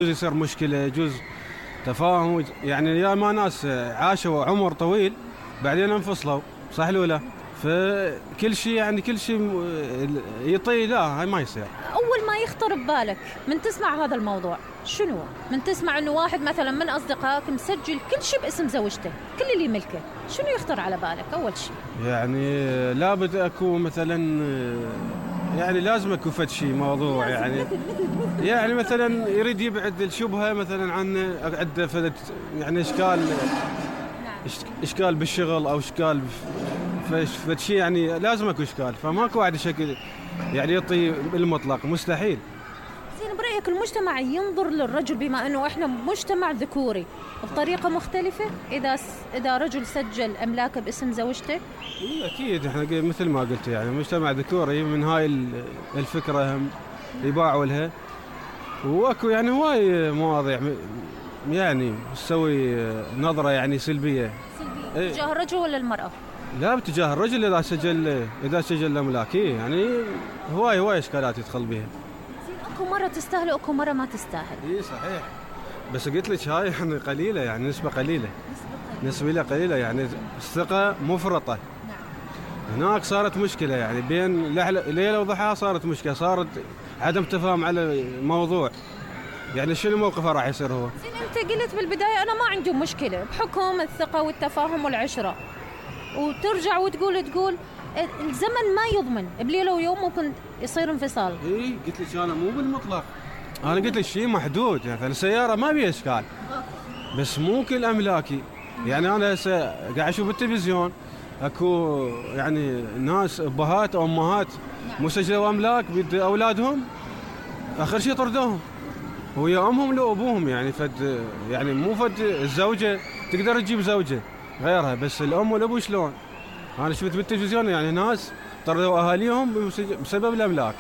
يجوز يصير مشكلة، يجوز تفاهم، يعني يا ما ناس عاشوا عمر طويل بعدين انفصلوا، صح لو لا؟ فكل شيء يعني كل شيء يطي، لا هاي ما يصير. أول ما يخطر ببالك من تسمع هذا الموضوع شنو؟ من تسمع إنه واحد مثلا من أصدقائك مسجل كل شيء باسم زوجته، كل اللي يملكه، شنو يخطر على بالك أول شيء؟ يعني لابد أكو مثلا، يعني لازم أكو فد شيء موضوع، يعني مثلا يريد يبعد الشبهة مثلا عن عنده فد يعني إشكال بالشغل أو إشكال فد شيء، يعني لازم أكو إشكال، فماكو واحد شكل يعني يعطي بالمطلق، مستحيل. زين، برأيك المجتمع ينظر للرجل بما أنه إحنا مجتمع ذكوري بطريقة مختلفة إذا رجل سجل أملاكه باسم زوجته؟ أكيد إحنا مثل ما قلت يعني مجتمع ذكوري، من هاي الفكرة هم يباعوا لها، وأكو يعني هواي مواضيع يعني تسوي نظرة يعني سلبية تجاه الرجل ولا المرأة؟ لا، باتجاه الرجل إذا سجل الأملاك، يعني هواي إشكالات يدخل بها. اكو مرة تستاهل واكو مرة ما تستاهل. اي صحيح، بس قلت لك هاي يعني قليلة، يعني نسبة قليلة يعني الثقة مفرطة. نعم. هناك صارت مشكلة، يعني بين ليلة وضحاها صارت مشكلة، صارت عدم تفاهم على الموضوع. يعني شنو موقفه راح يصير هو؟ زين، انت قلت بالبداية انا ما عندي مشكلة بحكم الثقة والتفاهم والعشرة، وترجع وتقول الزمن ما يضمن، بليلة ويوم ممكن يصير انفصال. اي قلت لك انا مو بالمطلق، انا قلت لك شيء محدود، يعني السيارة ما بيها اشكال، بس مو كل املاكي. يعني انا هسه قاعد اشوف بالتلفزيون اكو يعني ناس ابهات او امهات مسجلوا املاك بيد اولادهم، اخر شيء طردوهم ويا امهم لو ابوهم، يعني يعني مو فد الزوجة تقدر تجيب زوجة غيرها، بس الام والابو شلون؟ أنا شفت بالتلفزيون يعني ناس طردوا أهاليهم بسبب الأملاك.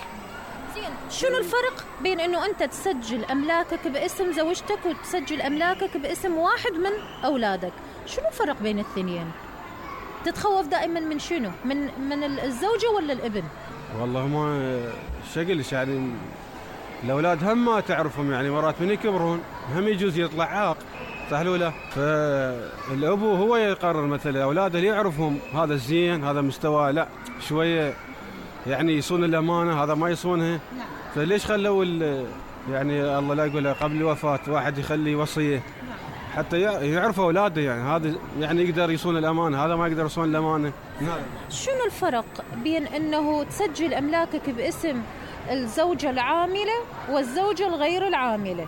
زين، شنو الفرق بين إنه أنت تسجل أملاكك باسم زوجتك وتسجل أملاكك باسم واحد من أولادك؟ شنو الفرق بين الاثنين؟ تتخوف دائما من شنو؟ من الزوجة ولا الابن؟ والله ما شقلش، يعني الأولاد هم ما تعرفهم، يعني مرات من يكبرون هم يجوز يطلع عاق، صح ولا؟ فالأبو هو يقرر مثلا أولاده اللي يعرفهم، هذا الزين هذا مستوى لا شوية يعني يصون الأمانة، هذا ما يصونها. فليش خلوا يعني الله لا يقول قبل الوفاة واحد يخلي وصية حتى يعرفوا أولاده، يعني هذا يعني يقدر يصون الأمانة، هذا ما يقدر يصون الأمانة. شنو الفرق بين أنه تسجل أملاكك باسم الزوجة العاملة والزوجة الغير العاملة؟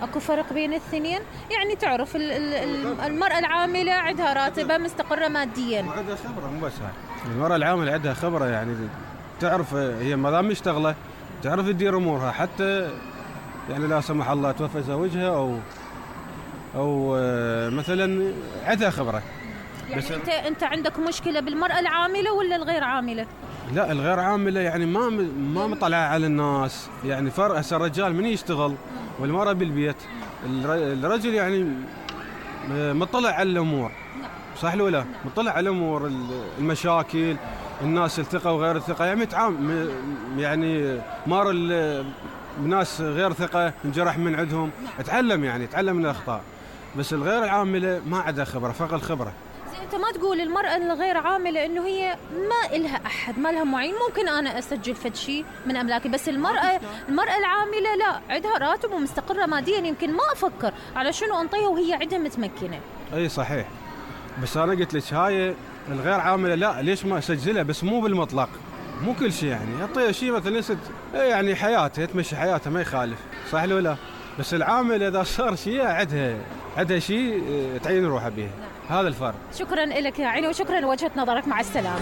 اكو فرق بين الاثنين؟ يعني تعرف المرأة العاملة عندها راتبة مستقرة ماديا وعندها خبرة، مو بس هاي المرأة العاملة عندها خبرة، يعني تعرف هي ما دام مشتغلة تعرف تدير امورها، حتى يعني لا سمح الله توفى زوجها او مثلا عندها خبرة. يعني بس انت عندك مشكلة بالمرأة العاملة ولا الغير عاملة؟ لا، الغير عاملة يعني ما مطلعة على الناس، يعني فرق. هسه الرجال من يشتغل والمرأة بالبيت، الرجل يعني مطلع على الأمور، صح لو لا؟ مطلع على الأمور، المشاكل، الناس الثقة وغير الثقة، يعني مار الناس غير ثقة انجرح من عندهم، اتعلم من الأخطاء. بس الغير العاملة ما عندها خبرة، فقط الخبرة. انت ما تقول المرأة الغير عاملة انه هي ما إلها احد، ما لها معين، ممكن انا اسجل فد شيء من املاكي، بس المرأة العاملة لا، عندها راتب ومستقرة ماديا، يمكن ما افكر على شنو انطيها وهي عندها متمكنة. اي صحيح، بس انا قلت لك هاي الغير عاملة لا، ليش ما اسجلها؟ بس مو بالمطلق، مو كل شيء، يعني اعطيها شيء مثلا يعني حياتها تمشي حياتها ما يخالف، صح ولا لا؟ بس العامل اذا صار شيء عندها شيء تعين روحها به، هذا الفرق. شكرا لك يا عيني، وشكرا لوجهة نظرك، مع السلامة.